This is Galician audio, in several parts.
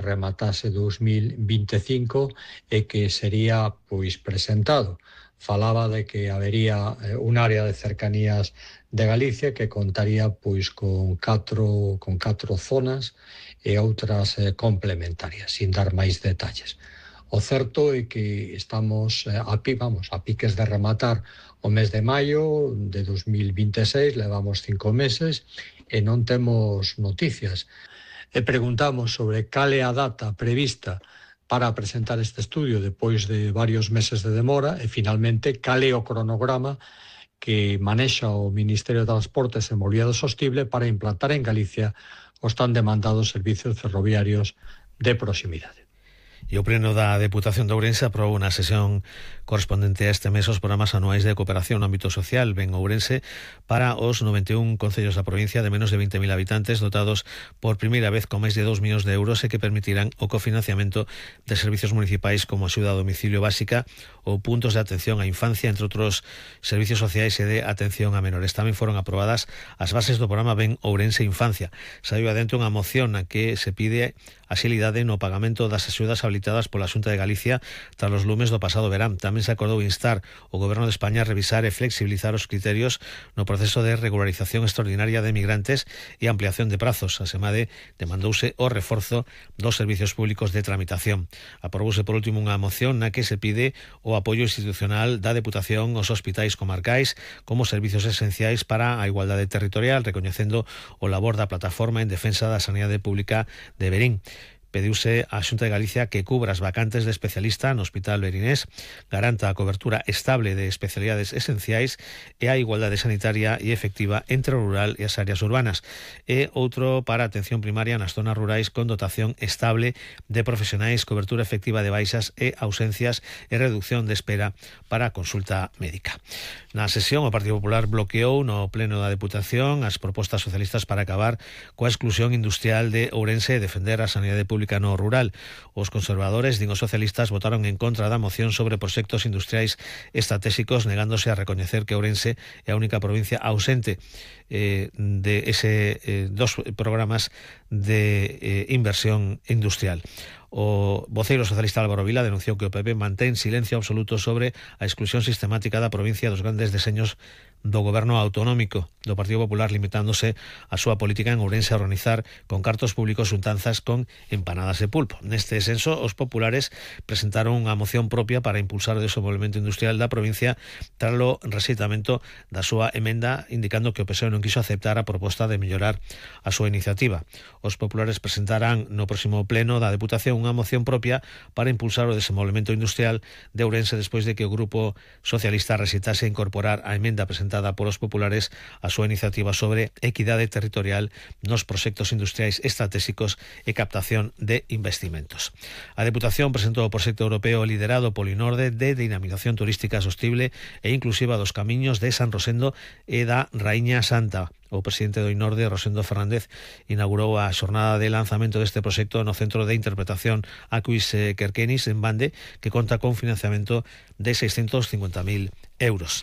rematase 2025 e que sería presentado. Falaba de que habería un área de cercanías de Galicia que contaría con catro zonas e outras complementarias, sin dar máis detalles. O certo é que estamos a piques de rematar o mes de maio de 2026, levamos 5 meses e non temos noticias. E preguntamos sobre cal é a data prevista para presentar este estudio depois de varios meses de demora e, finalmente, cal é o cronograma que manexa o Ministerio de Transportes e Mobilidade Sostible para implantar en Galicia os tan demandados servicios ferroviarios de proximidade. E o Pleno da Deputación de Ourense aprobou na sesión correspondente a este mes os programas anuais de cooperación no ámbito social Ben Ourense para os 91 concellos da provincia de menos de 20.000 habitantes dotados por primeira vez con máis de 2 millóns de euros e que permitirán o cofinanciamento de servicios municipais como axuda a domicilio básica ou puntos de atención á infancia, entre outros servicios sociais e de atención a menores. Tamén foron aprobadas as bases do programa Ben Ourense Infancia. Saiu adentro unha moción na que se pide axilidade no pagamento das axudas habilitadas pola Xunta de Galicia tras os lumes do pasado verán. Tamén se acordou instar o Goberno de España a revisar e flexibilizar os criterios no proceso de regularización extraordinaria de migrantes e ampliación de prazos. Asemade, demandouse o reforzo dos servicios públicos de tramitación. Aprobouse por último unha moción na que se pide o apoio institucional da Deputación aos hospitais comarcais como servicios esenciais para a igualdade territorial, recoñecendo o labor da plataforma en defensa da sanidade pública de Verín. Pediuse á Xunta de Galicia que cubra as vacantes de especialista no Hospital Verinés, garanta a cobertura estable de especialidades esenciais e a igualdade sanitaria e efectiva entre o rural e as áreas urbanas, e outro para a atención primaria nas zonas rurais con dotación estable de profesionais, cobertura efectiva de baixas e ausencias e reducción de espera para a consulta médica. Na sesión, o Partido Popular bloqueou no Pleno da Deputación as propostas socialistas para acabar coa exclusión industrial de Ourense e defender a sanidade pública no rural. Os conservadores, din os socialistas, votaron en contra da moción sobre proxectos industriais estratégicos, negándose a recoñecer que Ourense é a única provincia ausente de dos programas de inversión industrial. O voceiro socialista Álvaro Vila denunciou que o PP mantén silencio absoluto sobre a exclusión sistemática da provincia dos grandes deseños do goberno autonómico do Partido Popular, limitándose a súa política en Ourense a organizar con cartos públicos xuntanzas con empanadas de pulpo. Neste senso, os populares presentaron unha moción propia para impulsar o desenvolvemento industrial da provincia tras o rexeitamento da súa emenda, indicando que o PSOE non quiso aceptar a proposta de mellorar a súa iniciativa. Os populares presentarán no próximo pleno da Deputación unha moción propia para impulsar o desenvolvemento industrial de Ourense despois de que o Grupo Socialista rexeitase incorporar a emenda presentada polos populares a súa iniciativa sobre equidade territorial nos proxectos industriais estratégicos e captación de investimentos. A Deputación presentou o proxecto europeo liderado polo INORDE de dinamización turística sostible e inclusiva dos camiños de San Rosendo e da Raíña Santa. O presidente do INORDE, Rosendo Fernández, inaugurou a xornada de lanzamento deste proxecto no Centro de Interpretación Aquis Querquenis en Bande, que conta con financiamento de 650.000 euros.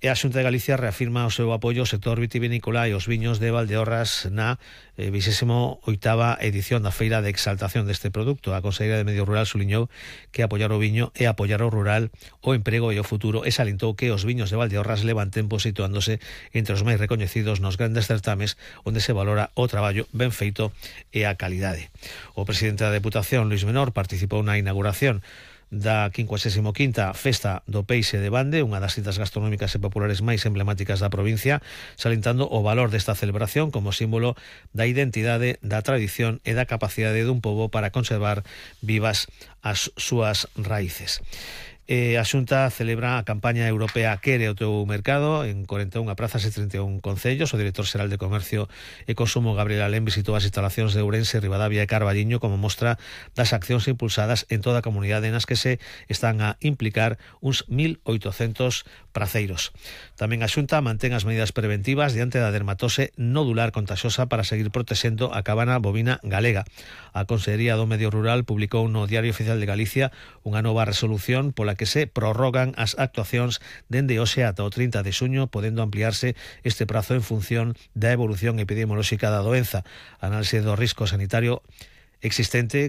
E a Xunta de Galicia reafirma o seu apoio ao sector vitivinícola e aos viños de Valdeorras na 28ª edición da Feira de Exaltación deste produto. A Conselleira de Medio Rural suliñou que apoiar o viño é apoiar o rural, o emprego e o futuro, e salientou que os viños de Valdeorras levan tempo situándose entre os máis recoñecidos nos grandes certames onde se valora o traballo ben feito e a calidade. O presidente da Deputación, Luís Menor, participou na inauguración da 55ª Festa do Peixe de Bande, unha das citas gastronómicas e populares máis emblemáticas da provincia, salientando o valor desta celebración como símbolo da identidade, da tradición e da capacidade dun pobo para conservar vivas as súas raíces. A Xunta celebra a campaña europea Quere o teu mercado en 41 prazas e 31 concellos. O director xeral de Comercio e Consumo, Gabriel Alén, visitou as instalacións de Ourense, Ribadavia e Carballiño como mostra das accións impulsadas en toda a comunidade nas que se están a implicar uns 1.800 praceiros. Tamén a Xunta mantén as medidas preventivas diante da dermatose nodular contagiosa para seguir protexendo a cabana bovina galega. A Consellería do Medio Rural publicou no Diario Oficial de Galicia unha nova resolución pola que se prorrogan as actuacións dende hoxe ata o 30 de xuño, podendo ampliarse este prazo en función da evolución epidemiolóxica da doenza. A análise do risco sanitario existente